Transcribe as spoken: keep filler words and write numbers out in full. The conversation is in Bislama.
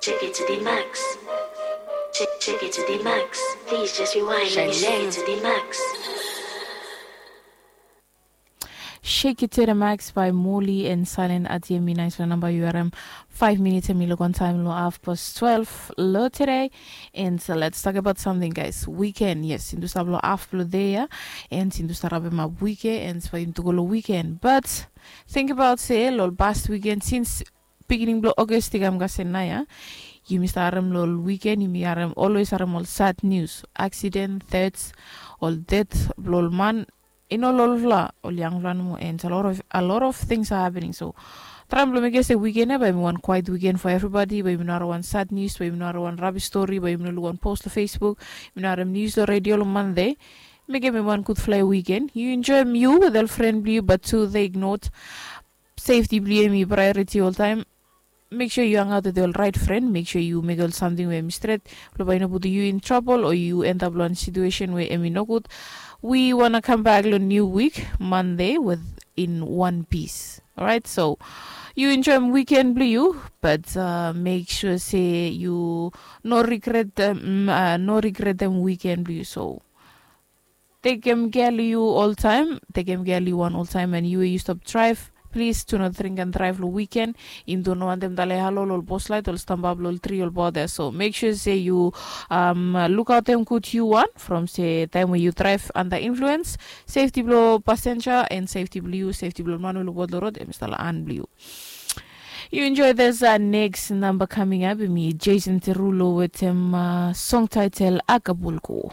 Check it to the max. Check, check it to the max. Please just rewind. Let me shake it to the max. Shake it to the max by Moli and Silent Ati. Em i naispela namba yu harim. Five minutes em i luk on time lo half past twelve lo today. And so let's talk about something, guys. Weekend, yes, sindu stap lo half lo day ya. And sindu stap rabem up weekend and so yundu go lo weekend. But think about se lo past weekend since beginning blo August i kam kasem nao ya. Yumi stap harem lo ol weekend yumi harem, always harem ol sad news, accident, thirds, ol death blo ol man. I no lo olfala, ol yangfala nomo, and a lot of, a lot of things are happening. So traem blo mekem se weekend ya bae yumi wan quiet weekend for everybody, bae yumi no harem wan sad news, bae yumi no harem wan rabis stori, bae yumi no luk wan post lo Facebook, yumi no harem news lo radio lo Monday. Mekem em wan gudfala weekend. Yu enjoem yu with ol fren blo yu, but tu they ignored. Safety blo yu em i priority oltaem. Make sure yu hangaot with ol right fren, make sure yu mekem ol samting we em i stret, blo bae i no putum yu in trouble o yu end up lo wan situation we em i nogud. We wanna come back lo new week Monday with in one piece. Alright, so yu enjoem weekend blo yu, but uh, make sure se yu no regret dem, mm, uh, no regret dem weekend blo yu. So tekem kea lo yu oltaem, tekem kea lo yu wan oltaem, and yu we yu stap draev, plis tu no dring and draev lo weekend. Yumi tu no wantem dale halo lo ol boslait, ol stamba blo ol tri, ol bot ya. So make sure se yu um, lukaotem gud yu wan from se taem we yu draev under influence. Safety blo pasenja and safety blo yu, safety blo ol man we luk bot lo rod, em i stap lo han blo yu. Yu enjoy this uh, next number coming up. Em i Jason Derulo wetem uh, song title Acapulco.